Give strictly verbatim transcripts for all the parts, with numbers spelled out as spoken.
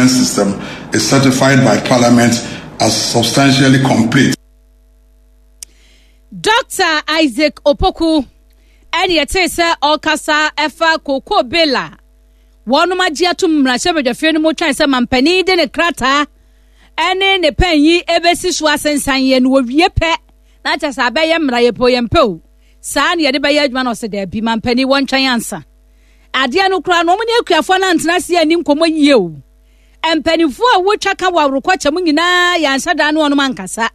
management system is certified by Parliament as substantially complete. Doctor Isaac Opoku ɛne yɛtee sɛ ɔrekasa ɛfa cocoa bill a wɔnom agye atom mmarahyɛbadwafie no mu twɛn sɛ mampanin de ne krataa ɛne ne pɛn yi ɛbɛsi so asensan yɛ no wɔwie pɛ na kyɛ sɛ abɛyɛ mmara yɛpɛ yɛn pɛ o saa ne yɛde bɛyɛ adwuma no. Ɔsɛ daabi, mampanin wɔntwɛn ansa. Adeɛ no koraa no, wɔn ne akuafoɔ no antena ase ani nkɔmmɔ yie o. Mpanimfoɔ a wɔtwa ka wɔ aworokɔkyɛ mu nyinaa yɛanhyɛ da ne wɔnom ankasa.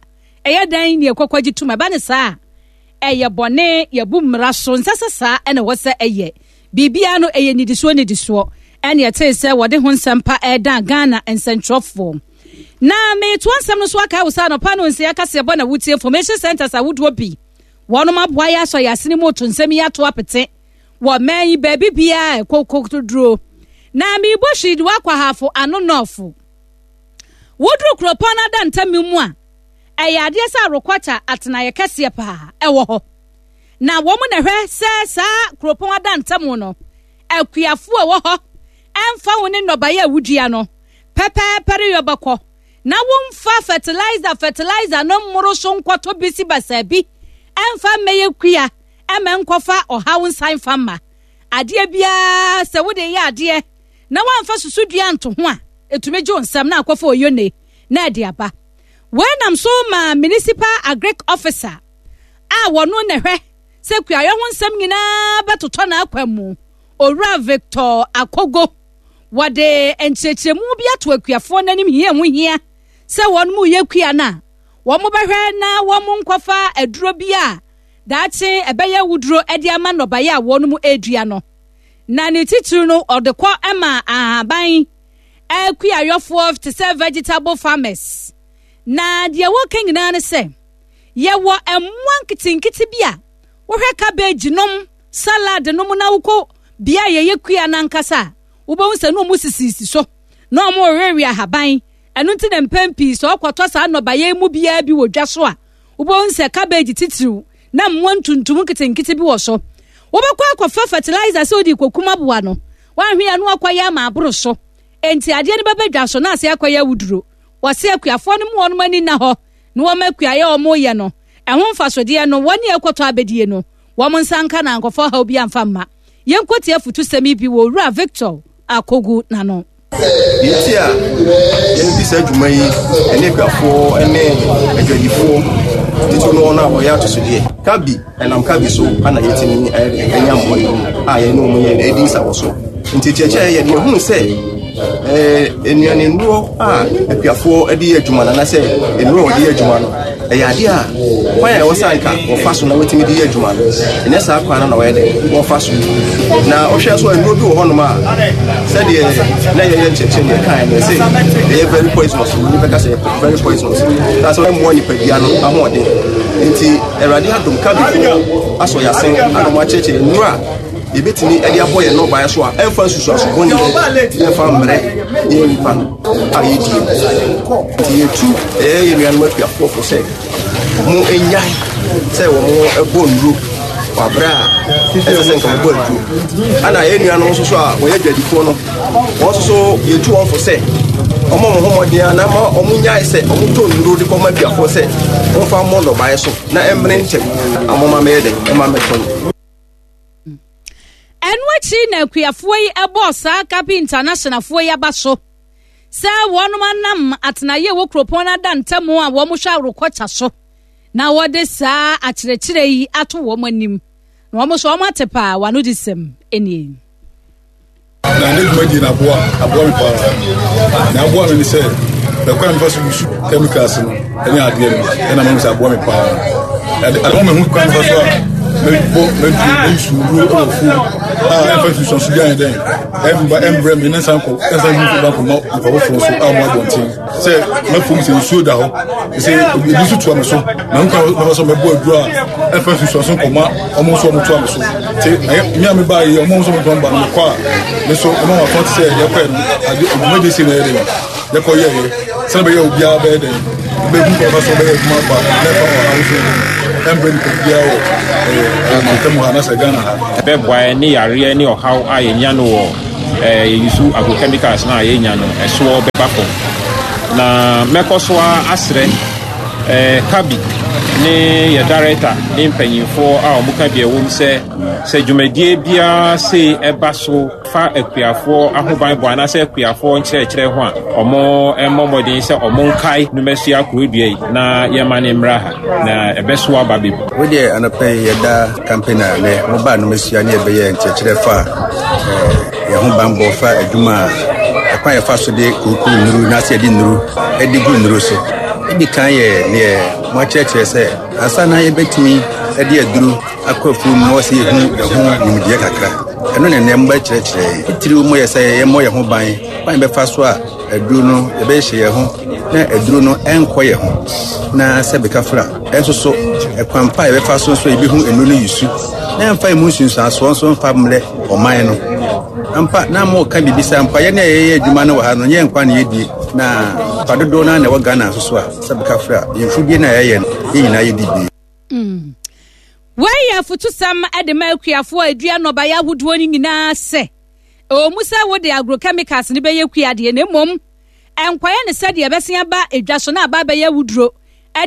Ɛyɛ dan ne ɛkɔkɔ gye tum ɛba ne saa, ɛyɛ bɔne, yɛbu mmara so nsɛ sɛ saa ɛna ɛwɔ sɛ ɛyɛ biribiara no ɛyɛ nidisoɔ nidisoɔ. Ɛne ɛtee sɛ wɔde ho nsɛm pa ɛredan Ghana nsɛntwerɛfoɔ. Na metoa nsɛm no so aka wo sɛ anɔpa no nsia kaseɛbɔ na wotie. Information centers ahodoɔ bi wɔnom aboa yɛ asɔ yɛ asene mu to nsɛm yi ato apete wɔ mɛn yi baabi biara ɛkɔkɔ duro. Na meebɔ hwii de wakɔ Ahafo Ano North. Woduru kuropɔn no ada ntam mu a, ɛyɛ adeɛ sɛ aworokɔkya atenaeɛ kɛseɛ paa ɛwɔ hɔ, na wɔn na hwɛ sɛ saa kuropɔn ada ntam no akuafoɔ a ɛwɔ hɔ ɛmfa wo ne nnɔbaeɛ a wodua no pɛpɛɛpɛ reyɔ bɛkɔ na womfa fertilizer fertilizer no mmoro so nkɔtɔ bisi basaa bi ɛmfa mmɛyɛ kua ɛmɛ nkɔfa ɔhaw nsan fa mma adeɛ biara. Sɛ wode yɛ adeɛ na woamfa susudua nto ho a, ɛtumi gye wo nsɛm na akɔfa oyone na ɛde aba. Wei nam so ma municipal agric officer a wɔno na hwɛ sɛ kuayɔ ho nsɛm nyinaa bɛtotɔ n'akwan mu, Owura Victor Akogo, wɔde nkyerɛkyerɛmu bi ato akuafoɔ n'anim hia ho hia sɛ wɔn mu yɛ kua no a, wɔn bɛhwɛ na wɔn nkɔfa aduro bi a daakye ɛbɛyɛ wuduro de ama nnɔbaeɛ a wɔn mu redua no. Na ne titiri no, ɔde kɔ ma ahaban akuayɔfoɔ te sɛ vegetable farmers. Na deɛ wɔka nyinaa ne sɛ yɛwɔ mmoa nketenkete bi a wohwɛ cabbage nom, salad nom, na wokɔ bea a yɛyɛ kua n'ankasa a, wobɛhu sɛ na ɔmo sisisi so na ɔmo rewewe ahaban. Ɛno nti na mpɛn pii sɛ ɔkɔtɔ saa nnɔbaeɛ mu biara bi wɔ dwa so a, wobɛhu sɛ cabbage titiriw na mmoa ntuntum nketenkete bi wɔ so. Wobɛkɔ akɔfa fertilizer sɛ wode kɔkum aboa no, woahwe ya no akɔyɛ ama aboro so. Enti adeɛ no bɛbɛ dwa so na ase akɔyɛ awuduro. Wɔse akuafoɔ no mu wɔnom ani nna hɔ na wɔn akuayɛ a wɔyɛ no ɛho mfasodeɛ no wɔne ɛkɔtɔ abɛdie no wɔn nsa nka na nkɔfɔ haw bi amfa mma. Yɛnkɔtie afutusɛm yi bi wɔ Owura Victor Akogu n'ano. Deɛ nti a yɛdi saa adwuma yi ɛne akuafoɔ ne adwadifoɔ titiri no, wɔn a wɔyɛ atosodeɛ kabi ɛnam kabi so ana yɛtumi ɛnya mmoa yi a yɛne wɔn yɛ ɛdi nsa wɔ so. Nti kyerɛkyerɛ yɛ deɛ hunu sɛ nnuane nnuro a akuafoɔ de yɛ adwuma no anaasɛ nnuro a wɔde yɛ adwuma no, ɛyɛ adeɛ a kwan a ɛwɔ sɛ anka wɔfa so na wɔtumi de yɛ adwuma no, ɛnyɛ saa kwan no na wɔyɛ dɛ wɔfa so. Na wohwɛ so a, nnuro bi wɔ hɔnom a sɛdeɛ na yɛyɛ nkyerɛkyerɛ deɛ kae no sɛ ɛyɛ very poisonous. Obi bɛka sɛ very poisonous na sɛ ɛmmoa nipadua no ahoɔden. Nti Awurade adom, kabifoɔ asɔ yɛasen ana ɔmo akyerɛkyerɛ nnuro a yɛbɛtumi de abɔ yɛn nnɔbaeɛ so a ɛmfa nsusuaso bɔne ɛmfa mmerɛ yɛn nipa no a yɛdie. Nti yɛtu ɛyɛ yɛn nuanom akuafoɔ fo sɛ mo nyae sɛ wɔn bɔ nnuro wɔ aberɛ a ɛsɛ sɛ nka wɔbɔ aduro. Ana yɛn nuanom nso so a wɔyɛ adwadifoɔ no, wɔn nso so yɛtu wɔn fo sɛ wɔn mo ho mmɔden a na ma wɔn nyae sɛ wɔn tɔ nnuro de kɔma akuafoɔ sɛ wɔmfa mmɔ nnɔbaeɛ so na ɛmmere ntɛm amoma mɛyɛ dɛ ɛma mɛtɔ no. Ɛno akyi na akuafoɔ yi ɛbɔɔ saa Kapi Internationalfoɔ yi aba so sɛ wɔnom anam atenaeɛ wɔ kuropɔn no ada ntam a wɔn hwɛ aworokɔkya so na wɔde saa akyerɛkyerɛ yi ato wɔn anim na wɔn nso wɔn ate paa. Wɔn ano de sɛm nie. Na ne dwumadie no aboa aboa me paa. Na aboa me ne sɛ ɛkwan a mefa so use chemicals no ɛne adeɛ no ɛna mahu sɛ aboa me paa. Ɛde ma mehu kwan mefa so a mɛbɔ mɛduru mɛuse nnuro wɔ fuo a ɛmfa nsusuanso bi ayɛ dɛn ɛmba ɛmbrɛ me ne nsa nkɔ ɛnsa nso ba nkɔma nipa foforɔ so a wɔn abɔnten sɛ mɛfom sɛ nsuo da hɔ sɛ ebi nso toa me so na nkwa mɛfa so mɛbɔ aduro a ɛmfa nsusuanso nkɔma ɔmo nso ɔmo toa me so. Te ɛyɛ me a me ba yi, ɔmo nso ɔmo ba no mekɔ a me so ɔmo ama fɔn te sɛ yɛkɔ yɛ no ade dwumadie si na yɛ dɛ yɛkɔ yɛ yɛ sɛnɛ bɛyɛ obiara bɛyɛ dɛ bɛhu kɔ ɔfa so bɛyɛ adwuma fa na ɛfa ɔhaw so ɛmbrɛ nipa biara wɔ ɛɛ mantam ha anasɛ Ghana ha. Ɛbɛboa yɛn ne yareɛ ne ɔhaw a yɛnya no wɔ eh, yɛyusu agrochemicals no a yɛnya no ɛsoɔ bɛba fam. Na mɛkɔ so asrɛ eh, Kabi ne yɛ director ne mpanyimfoɔ a wɔka bi ɛwɔ mu sɛ sɛ dwumadie biara sei ɛba so fa akuafoɔ ahobanbɔ anaasɛ akuafoɔ nkyerɛkyerɛ ho a, ɔmo mmɔ mmɔden sɛ ɔmo nkae numasua kurodua yi na yɛma ne mmra ha na ɛbɛso aba bebree. Wo deɛ anɔpɛ yi yɛda campaign a nɛ mobaa numasua ne yɛbɛyɛ nkyerɛkyerɛ fa yɛn ho banbɔ fa adwuma a ɛkwan yɛfa so de kuku nnuru na sɛ yɛde nnuru de gu nnuru so. Edi kan yɛ neɛ mo akyerɛkyerɛ sɛ ansa na yɛbɛtumi de aduru akɔ afuo mu na wɔsɛ yɛhu ɛho nimdeɛ kakra. Ɛno na nnɛ mobɛkyerɛkyerɛ. Titiriw mu yɛ sɛ yɛmmɔ yɛn ho ban kwan yɛbɛfa so a aduru no yɛbɛhyɛ yɛn ho na aduru no ɛnkɔ yɛn ho na sɛ bɛka fra ɛnso so ɛkwan pa a yɛbɛfa so nso yɛbɛhu nnuru no yisu na ɛmfa emu nsunsuansoɔ nso mfa mmerɛ ɔman no. Ampa na mo ka biribi sɛ ampa yɛne a yɛyɛ adwuma no wɔ ha no nyɛ nkwa na yɛdie na fa dodoɔ no na ɛwɔ Ghana nso so a sɛ bɛka fra yɛmfudie no a yɛyɛ no yɛn nyinaa yɛdi bi. Mm. Wei yɛ afotusɛm de ma akuafoɔ a ɛdua nnɔbaeɛ ahodoɔ no nyinaa sɛ ɛwɔ mu sɛ wode agrochemicals no bɛyɛ kua deɛ, na mmom ɛnkɔyɛ ne sɛdeɛ ɛbɛsen aba edwa so na aba abɛyɛ awuduro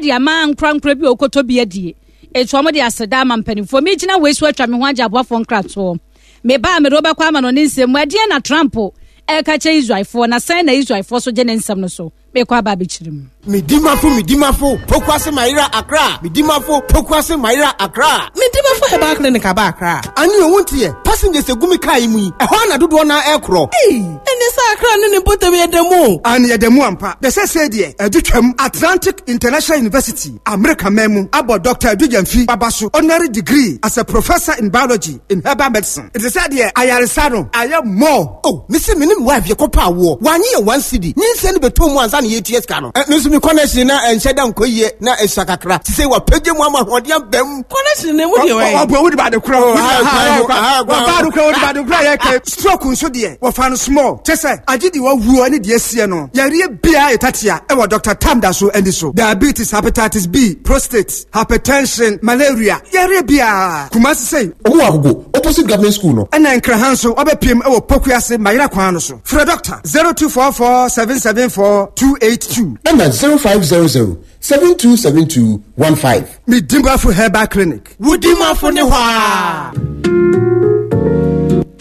de ama nkorankora bi a wɔkɔtɔ bi adie. Enti wɔn de aseda ama mpanimfoɔ. Megyina wei so atwa me ho agye aboafoɔ nkratoɔ. Meba a mede wobɛkɔ ama no ne nsɛm mu. Ɛdeɛn na Trump ɛreka kyerɛ Israelfoɔ, na sɛn na Israelfoɔ so gye ne nsɛm no so? Mekɔ aba abɛkyerɛ mu. Medimafo Medimafo Pokuase Mayera Accra Medimafo Pokuase Mayera Accra Medimafo Herbal Clinic aba Accra. Ani owu nti yɛ passengers egu mi kaa yi mu yi ɛhɔ na dodoɔ na ɛkorɔ. Ee, ɛne sɛ Accra ne ne mpɔtam yɛ da mu. Ani yɛ da mu ampa. Bɛsɛ sɛ deɛ ɛdu twam Atlantic International University America man mu abɔ Doctor Adu Gyamfi baba so honorary degree as a professor in biology in herbal medicine. Ɛte sɛ deɛ ayaresa no ayɛ more. Oh, mesi me ne me wife yɛ kɔpa awoɔ. Wanye yɛ one cedi. Nyinsɛn no bɛtɔ mu ansa na yɛtua sika no. Me nso me connection na ɛnhyɛ da nkɔ yie na ɛsua kakra. Te sɛ wapagye mu ama ahoɔden abam. Connection na emu deɛ wɔyɛ. Ɔbɔ wodi baade kora. Wɔba do kora wodi baade kora yɛ kɛ. Stroke nso deɛ wɔfa no small. Kyɛ sɛ agye deɛ wawuo ne deɛ asie no. Yareɛ biara yɛ tatia ɛwɔ Doctor Tam da so ani so. Diabetes, hepatitis B, prostate, hypertension, malaria. Yareɛ biara. Kumasi sɛ. Ɔmo wɔ Agogo opposite government school no. Ɛna Nkraha nso wabɛpiem ɛwɔ Pokuase Mayera kwan no so. Frɛ Doctor zero two four four seven seven four two eight two. Ɛna zero five zero zero seven two seven two one five. Medimafo Herbal Clinic. Wudimafo ne hɔ.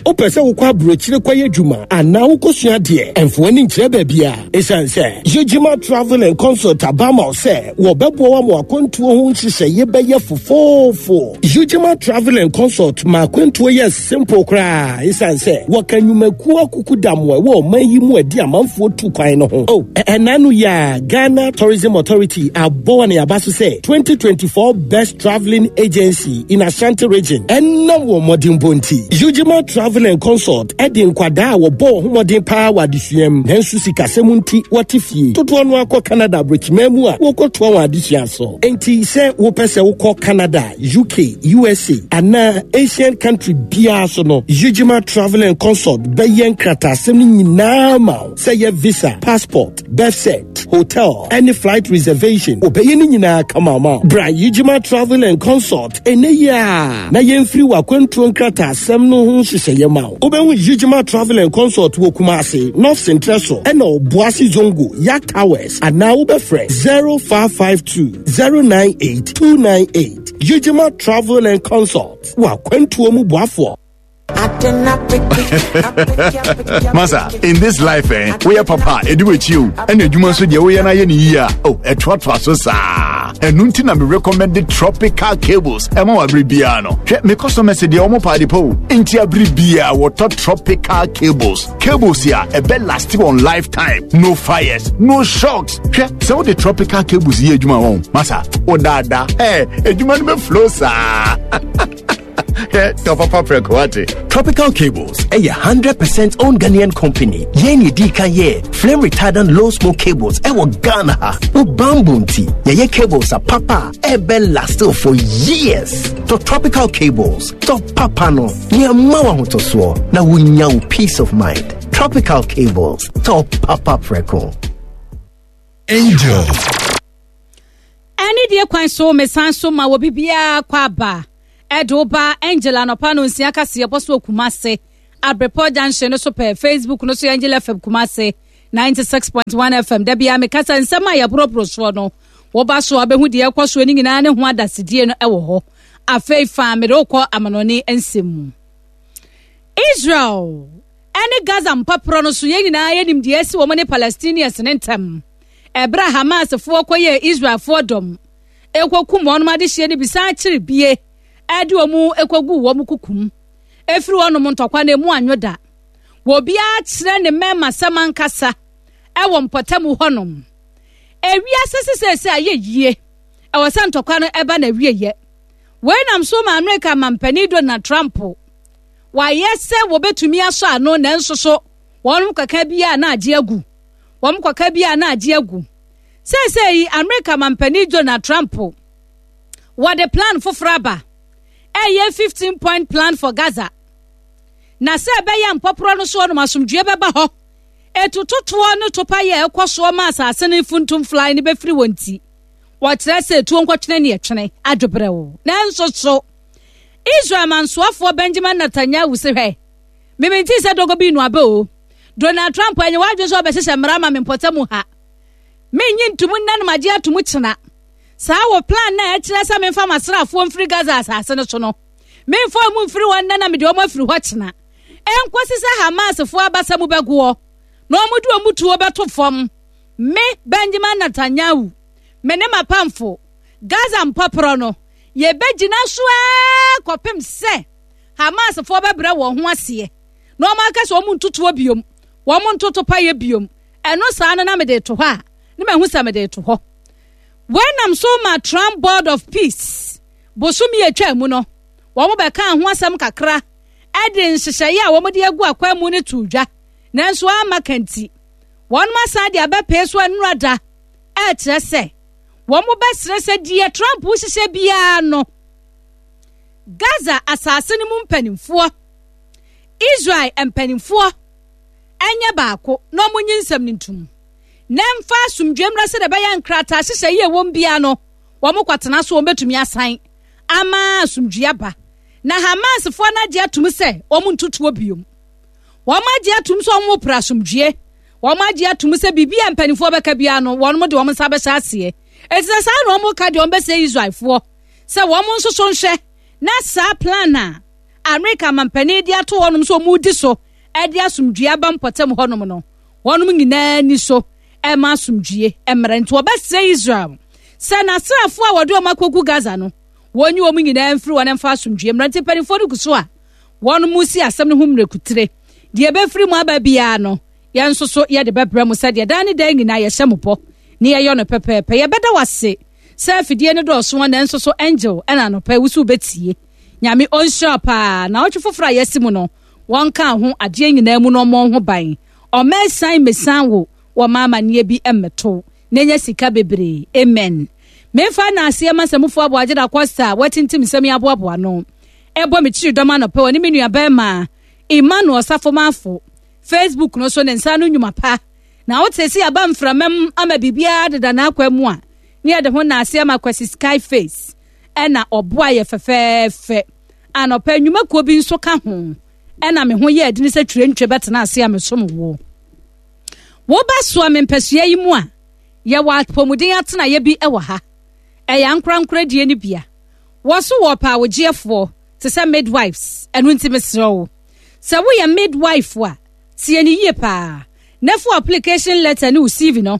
Wopɛ sɛ wokɔ aburokyire kɔyɛ adwuma anaa wokɔsua adeɛ, ɛmfoɔ ani nkyerɛ baabi a ɛsiane sɛ Yegyima Travel and Consult aba ma wo sɛ wɔbɛboa wo ama akwantuo ho nhyehyɛeɛ bɛyɛ fofoofo. Yegyima Travel and Consult ma akwantuo yɛ simple koraa ɛsiane sɛ wɔka nnwumakuo akuku dam a ɛwɔ ɔman yi mu adi amanfoɔ tu kwan no ho. Oh, ɛna no yɛ a Ghana Tourism Authority abɔ wɔn aba so sɛ twenty twenty-four Best Traveling Agency in Ashanti Region ɛnam wɔn mmɔdenbɔ nti. Yegyima Travel and Consult ɛde nkwadaa a wɔbɔ wɔn ho mmɔden paa wɔ adesua mu nanso sikasɛm nti wɔte fie dodoɔ no akɔ Canada aburokyiman mu a wɔkɔtoa wɔn adesua so. Enti sɛ wopɛ sɛ wokɔ Canada, U K, U S A anaa Asian country biara so no, Yegyima Travel and Consult bɛyɛ nkrataasɛm no nyinaa ma wo sɛ yɛ visa, passport, birth cert, hotel, any flight reservation. Obɛyɛ ne nyinaa kama ma wo. Bra Yegyima Travel and Consult ɛnɛ yi a na yɛmfiri w'akwantuo nkrataasɛm no ho nhyehyɛeɛ ma wo. Wobɛhu Yegyima Travel and Consult wɔ Kumasi, North Central so, ɛna Obuasi Zongo, Yak Towers, anaa wobɛfrɛ zero five five two zero nine eight two nine eight. Yegyima Travel and Consult w'akwantuo mu boafoɔ. Masa, in this life, eh, we are papa, edu echiu, and you must be we are na year. Oh, a trot so sa. And nuntina me recommended tropical cables. Emo abribiano. Check me customer said the omo party po. Inti abribia water tropical cables. Cables here, a bed lasting on lifetime. No fires, no shocks. Check so the tropical cables here, Juma. Masa, oh dada, eh, a Juma me flow sa. Tropical Cables, a hundred percent owned Ghanaian company. Yeni di kan ye flame retardant low smoke cables. Ewo Ghana ha. O bamboo nti. Ye cables a papa ebe last for years. To Tropical Cables, to papa no. Ni amawa hutosuo na wunya peace of mind. Tropical Cables, to papa preko. Angel. Any dear kwan so mesan so ma wo bibia kwa ba. Edoba Angela no pano nsia kase yeboso Kumase Abrepɔ Junction no so pɛ. Facebook no so Angel F M Kumasi ninety-six point one F M. Da bia meka sɛ nsɛm a yɛborɔborɔ soɔ no, wɔba so a bɛhu deɛ ɛkɔ soɔ no nyinaa ne ho adasedie no ɛwɔ hɔ. Afei fa mede wokɔ amanɔne nsɛm mu. Israel ɛne Gaza mpaporɔ no so yɛn nyinaa yɛnim deɛ asi wɔn ne Palestinians ne ntam. Ɛberɛ a Hamasfoɔ kɔyɛɛ Israelfoɔ dɔm ɛkɔkum wɔn adehyeɛ no bi san kyere bie ɛde wɔn ɛkɔgu wɔn kukum. Ɛfiri wɔnom ntɔkwa no emu anwo da. Wɔbiara kyerɛ ne mmarima sɛm ankasa ɛwɔ mpɔtam hɔnom. Ewiase sesese ayɛ yie. Ɛwɔ sɛ ntɔkwa no ɛba na wieyɛ. Wei nam so ma Amerika mampanin Donald Trump wayɛ sɛ wɔbɛtumi asɔ ano nanso so wɔn kaka bi a na agye agu. Wɔn kaka bi a na agye agu. Sɛsɛ yi Amerika mampanin Donald Trump wɔde plan foforɔ aba. Ɛyɛ fifteen point plan for Gaza. Na sɛ ɛbɛyɛ mpɔporɔ no so ɔnom asomdwoe bɛba hɔ. Etutotoɔ no topa yɛ ɛkɔ soɔ ma asase no funtum fly ne bɛfiri wɔn ti. Wɔkyerɛ sɛ etuo nkɔtwene ne ɛtwene adwobrɛw. Nanso so Israel mansoafoɔ Benjamin Netanyahu sɛ hwɛ. Mimenti sɛ dogo bi no abe o. Donald Trump ɛnyɛ wadwen sɛ ɔbɛhyehyɛ mmara ma me mpɔtam ha. Menyi ntomu nna no magye atom kyena. Saa wɔ plan na ɛkyerɛ sɛ memfa masraafoɔ mfiri Gaza asase no so no. Memfa ɔmo mfiri hɔ nna na mede ɔmo afiri hɔ kyena. Ɛnkɔsi sɛ Hamasfoɔ abasa mu bɛgoɔ na ɔmo de ɔmo tuo bɛto fam. Me Benjamin Netanyahu, me ne m'apamfo Gaza mpɔporɔ no, yɛbɛgyina so ara kɔpem sɛ Hamasfoɔ bɛbrɛ wɔn ho aseɛ na ɔmo aka sɛ ɔmo ntotoɔ biom, wɔn ntoto payɛ biom. Ɛno saa no na mede to hɔ a, ne mahu sɛ mede to hɔ. Wei nam so ma Trump Board of Peace bosomi atwa mu no, wɔn bɛka ho asɛm kakra ɛde nhyehyɛeɛ a wɔn de agu akwan mu no to dwa. Nanso ama kanti wɔn asan de abɛpee so anura da ɛkyerɛ sɛ wɔn bɛsrɛ sɛ deɛ Trump hyehyɛ biara no, Gaza asase no mu mpanimfoɔ, Israel mpanimfoɔ ɛnyɛ baako na wɔn nyi nsɛm no ntum. Na mfa asomdwoe mmra sɛ ɛbɛyɛ nkrataa hyehyɛ yie wɔm biara no, wɔn kɔtena so wɔn bɛtumi asan ama asomdwoe aba. Na Hamasfoɔ no agye atum sɛ wɔn ntutuo biom. Wɔn agye atum sɛ wɔn pere asomdwoe. Wɔn agye atum sɛ biribi a mpanimfoɔ bɛka biara no, wɔn de wɔn nsa bɛhyɛ aseɛ. Eti sɛ saa na wɔn ka deɛ wɔn bɛsɛ Israelfoɔ sɛ wɔn nso so nhwɛ na saa plan a Amerika mampanin de ato wɔn nso wɔn di so ɛde asomdwoe aba mpɔtam hɔnom no, wɔn nyinaa ni so ɛma asomdwoe mmerɛ. Nti wɔbɛsrɛ Israel sɛ n'asraafoɔ a wɔde wɔn akɔgu Gaza no, wɔnyi wɔn nyinaa mfiri wɔn mfa asomdwoe mmerɛ. Nti mpanimfoɔ no gu so a wɔn mu si asɛm no ho mmerɛkutire. Deɛ ɛbɛfiri mu aba biara no, yɛn nso so yɛde bɛbrɛ mu sɛdeɛ dan ne dan nyinaa yɛhyɛ mo bɔ ne yɛyɔ no pɛpɛɛpɛ. Yɛbɛda wase sɛ afidie no dɔɔso a nanso so Angel ɛna anɔpɛ wusu bɛtie. Nyame ɔnhyira paa na ɔtwe foforɔ a yɛasi mu no, wɔnka ho adeɛ nyinaa mu na ɔmmɔ ho ban. Ɔmɛsan mesan wo wɔ maama nneɛ bi mmɛto na nya sika bebree. Amen. Memfa na aseɛ ma sɛ mufoɔ aboagye da Costa a wɔatintim nsɛm yi aboaboa no. Ɛbɔ me kyiri dɔm anɔpɛ wɔ ne me nua bɛrima Emmanuel Safo-Mafo. Facebook no so ne nsa no nnwuma pa. Na wote sɛ yɛaba mframam ama biribiara deda n'akwan mu a, ne yɛde ho na aseɛ ma Kwasi Sky Face. Ɛna ɔboa yɛ fɛfɛɛfɛ. Anɔpɛ nnwumakuo bi nso ka ho. Ɛna me ho yɛ adini sɛ twerɛntwerɛ bɛtena ase a mesom wo. Woba soa me mpɛsua yi mu a, yɛwɔ apɔmuden atenaeɛ bi wɔ ha. Ɛyɛ ankorankora die no bia. Wɔso wɔ pa awogyeɛfoɔ te sɛ midwives. Ɛno nti mesrɛ wo. Sɛ woyɛ midwife a, tie ne yie paa. Na fa application letter ne wo C V no.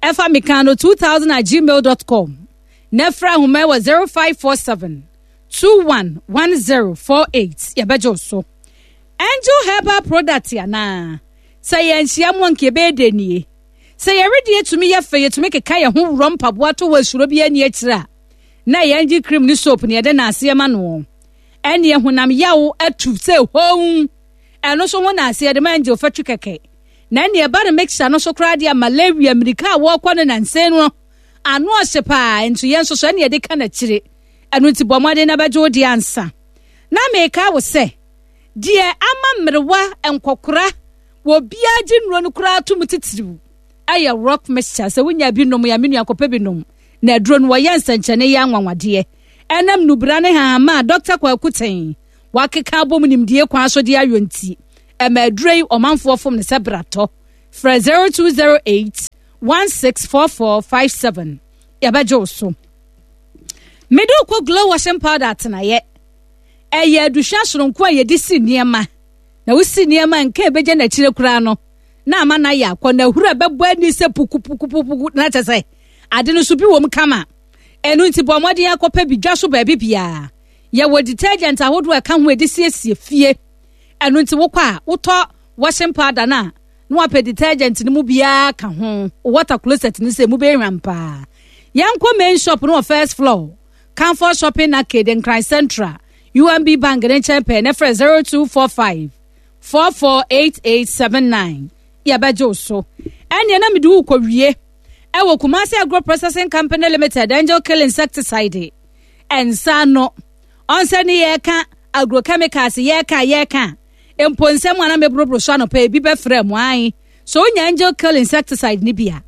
Ɛfa mekano two thousand at gmail dot com. Na frɛ ahoma wɔ zero five four seven two one one zero four eight. Yɛbɛgye wo so. Angel Herbal product anaa? Sɛ yɛnhyia mu anka yɛbɛyɛ dɛ nie. Sɛ yɛredeɛ tumi yɛ fɛ, yɛtumi keka yɛn ho worɔ mpaboa to wɔ asuro bi ani akyire a, na yɛn gye cream ne soap ne yɛde n'aseɛ ma no. Ɛne honam yaw atu sɛ hon. Ɛno so ho n'aseɛ de ma Angel fatwi kɛkɛ. Na ɛne ɛba no mixture no so koraa deɛ malaria mmirika a wɔrekɔ no nansa no ano ɔhye paa nso yɛn nso so ɛne yɛde ka n'akyire. Ɛno nti bɔ mmɔden na bɛgye wo deɛ ansa. Na meka wo sɛ deɛ ama mmerewa nkɔkora wɔ biara gye nnuro no koraa to mu titiriw ɛyɛ rock mixture. Sɛ wonya bi nom ya me nua kɔpɛ bi nom na aduro no wɔyɛ nsɛnkyɛnne yɛ anwanwadeɛ. Ɛnam nubra ne hahama a Doctor Kwaku Ten wakeka abom nimdie kwan so de ayɔ nti Ɛma aduro yi ɔmanfoɔ fom ne sɛ bratɔ. Frɛ zero two zero eight one six four four five seven. Yɛbɛgye wo so. Mede wokɔ Glow washing powder atenaeɛ. Ɛyɛ aduhwɛ soronko a yɛde si nneɛma. Na wosi nneɛma nka ebegye n'akyire koraa no na ama no ayɛ akɔ na ahuru a ɛbɛbɔ ani sɛ pukupukupuku na kyɛ sɛ ade no so bi wɔ mu kama. Ɛno nti bɔ mmɔden akɔpɛ bi dwa so baabi biara. Yɛwɔ detergent ahodoɔ a ɛka ho a yɛde siesie fie. Ɛno nti wokɔ a wotɔ washing powder no a na wapɛ detergent no mu biara ka ho. Water closet no sɛ mu bɛyɛ hwam paa. Yɛnkɔ main shop no wɔ first floor, Comfort Shopping Arcade, Nkran Central, U M B Bank ne nkyɛn pɛɛ na frɛ zero two four five four four eight eight seven nine. Yɛbɛgye wo so. Ɛneɛ na mede wo kɔwie ɛwɔ Kumasi Agro Processing Company Limited Angel Kill Insecticide. Ɛnsa no ɔnsɛ ne yɛka agrochemicals, yɛka yɛka mpo nsɛm a na meboroboro so anɔpa ebi bɛfrɛ mu ae so wonya Angel Kill Insecticide ne bi a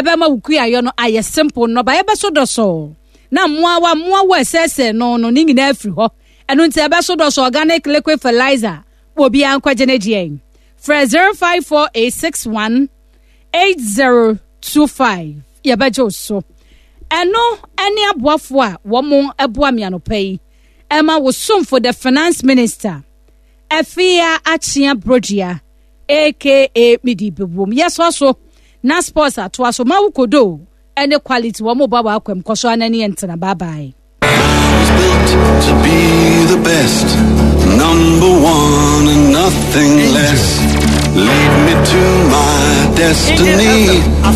ɛbɛma wo kuayɔ no ayɛ simple, nnɔbaeɛ bɛso dɔsɔɔ na mmoawa mmoawa ɛsɛɛsɛɛ no no ne nyinaa afiri hɔ. Ɛno nti ɛbɛso dɔsɔ. Organic liquid fertilizer wɔ obiara nkɔgye ne deɛ. Frɛ zero five four eight six one eight zero two five, yɛbɛgye wo so. Ɛno ɛne aboafoɔ a wɔn ɛboa me anɔpa yi ɛma wo somfo, the Finance Minister, Afia Akyea Brodua, aka Midi Bewom. Yɛsɔ so na sports atoa so ma wo kodo ɛne quality wɔn ba wɔ akwam kɔ so anani ntena. Bye bye. To be the best, number one and nothing less. Lead me to my destiny.